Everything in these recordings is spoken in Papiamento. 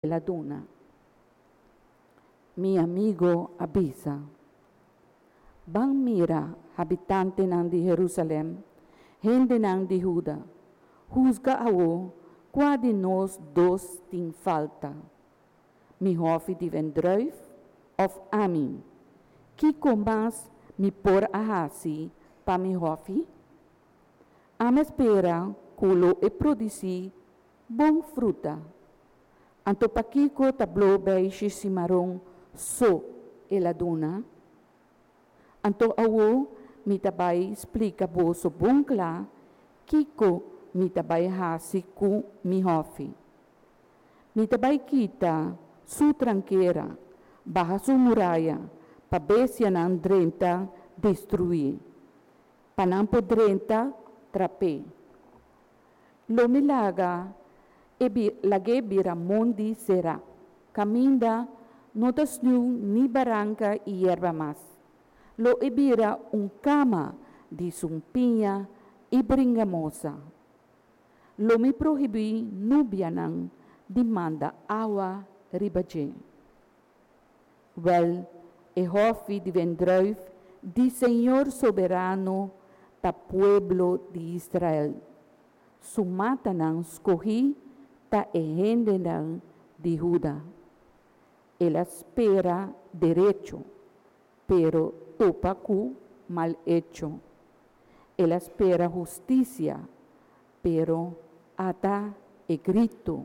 El a duna. Mi amigo a bisa, Ban mira, habitantenan di Herusalèm, hendenan di Huda, husga awor kua di nos dos tin falta, mi hòfi di wendrùif òf ami. Kiko mas mi por a hasi pa mi hòfi? Ami a spera ku lo e produsí bon fruta. Anto pakiko ta blo beishi simaron so el a duna? Anto awor mi ta bai splika boso bon kla kiko mi ta bai hasi ku mi hòfi. Mi ta bai kita su trankera, baha su muraya, pa bestianan drenta destruí, pa nan por drenta trap'é. Lo mi laga e lag'é bira mondi será, kaminda no ta snew ni baranka i yerba mas. Lo e bira un kama di sumpiña i bringamosa. Lo mi prohibí nubianan di manda awa riba dje. Wèl, e hòfi di wendrùif di Señor Soberano ta pueblo di Israel. Su matanan skohí ta e hendenan di Huda. El a spera derecho, pero topa ku mal echo. El a spera hustisia, pero ata e gritu,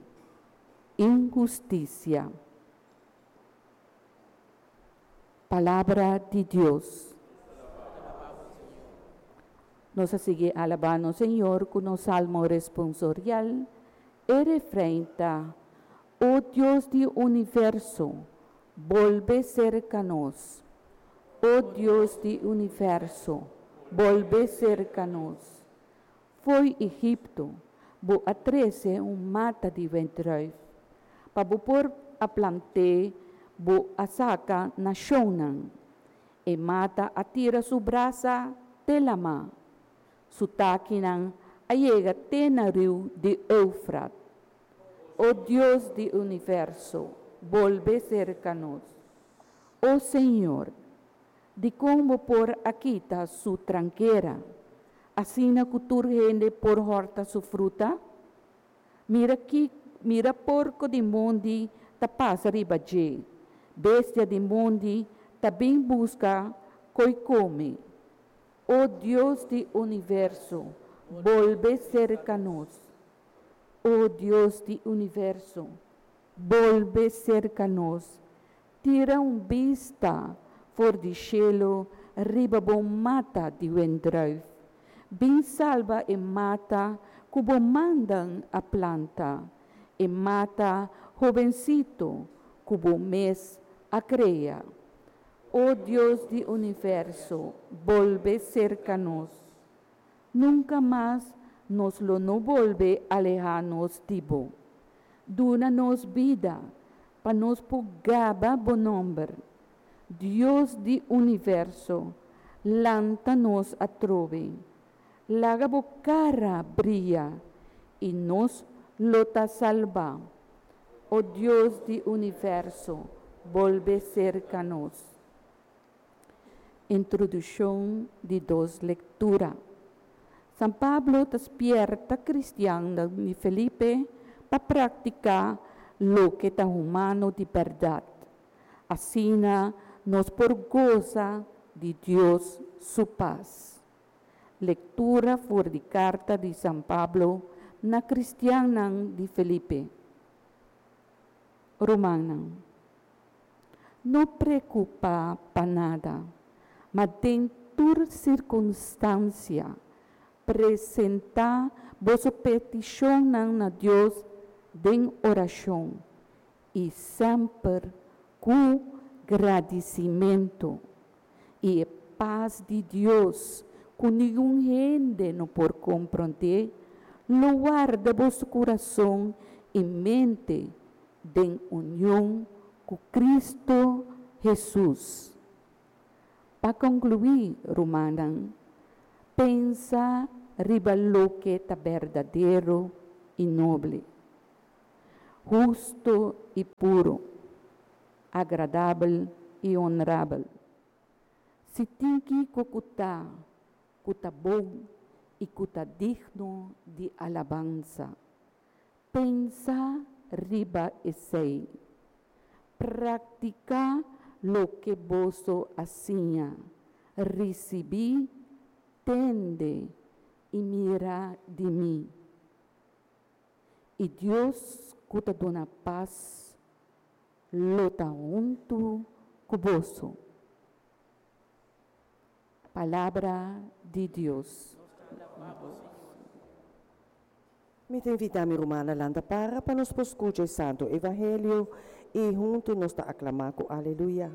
Inhustisia! Palabra di Dios. Nos a sigui alabá nos Señor ku nos salmo responsorial. E refrein ta, O Dios di universo, bolbe serka nos. O Dios di universo, bolbe serka nos. Fo'i Egipto bo a trese un mata di wendrùif, pa bo por a plant'é bo a saka nashonnan. E mata a tira su brasa te lamá, su takinan a yega te na riu di Eufrat. O Dios di universo, bolbe serka nos. O Señor, dikon bo por a kita su trankera, asina ku tur hende por hòrta su fruta? Mira ki mira porko di mondi ta pasa riba dje, bestia di mondi ta bin buska koi kome. O Dios di universo, bolbe serka nos. O Dios di universo, bolbe serka nos. Tira un bista for di shelu riba bo mata di wendrùif. Bin salba e mata ku bo mandan a planta, e mata hobensito ku bo mes a krea. O Dios di universo, bolbe serka nos. Nunka mas nos lo no bolbe alehá nos di bo. Duna nos bida pa nos por gaba bo nòmber. Dios di universo, lanta nos atrobe. Laga bo kara bria i nos lo ta salbá. O Dios di universo, bolbe serka nos. Introduccion di dos lectura. San Pablo ta spierta cristiannan di Felipe pa practica loke ta humano di berdad. Asina nos por goza di Dios su paz. Lectura for di carta di San Pablo na cristiannan di Felipe. Rumannan, no preocupa pa nada, ma den tur circunstancia presenta boso peticionnan na Dios den oracion y semper cu gradicimento. Y e paz di Dios, cu ningun hende no por comprende, lo warda boso curason y mente den union cu Cristo Hesus. Pa conclui, rumannan, pensa riba loke ta berdadero y noble. Husto i puru, agradabel i honrabel. Si tin kiko ku ta, ku ta bon i ku ta digno di alabansa, pensa riba esei. Praktiká loke boso a siña, risibí, tende i mira di mi. I Dios ku ta duna pas lo ta huntu ku boso. Palabra di Dios. Mi ta invitá mi rumannan lanta para pa nos por skucha e Santu Evangelio i huntu nos ta aklamá ku Aleluya.